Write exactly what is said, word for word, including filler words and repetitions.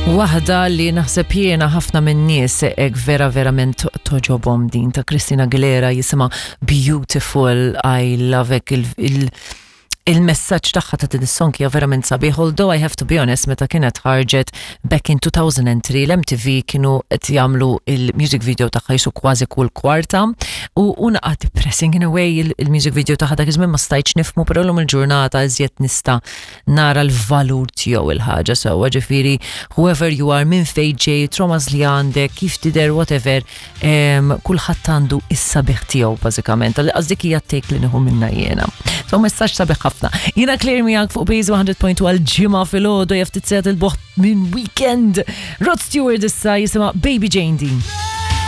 Waħda li naħseb jiena ħafna minn nies ek vera verament togħġobhom din ta' Christina Aguilera, jisimha Beautiful. I love it. il, il il-messaġġ tagħha ta' din is-song hija verament sabiħ, although I have to be honest, meta kienet ħarġet back in two thousand and three, l-M T V kienu qed jagħmlu il-music video tagħha jisu kważi kull kwarta u u naqra depressing in a way il-music video tagħha dak iż-żmien, ma stajtx nifhmu, però llum il-ġurnata iżjed nista' nara l-valur tiegħu il-ħaġa sewwa. Ġifieri whoever you are, minn fejn ġej, traumas li għandek, kif tidher, whatever, em, kulħadd għandu is-sabiħ tiegħu bażikament. Għax dik hija take li nieħu minna jiena. So messaġġ sabiħ ħafna. Jiena Claire miegħek fuq Base one hundred point two għal Ġimgħa filgħodu, jaf titsejt il-boħt minn weekend. Rod Stewart issa, jisimha Baby Jane din.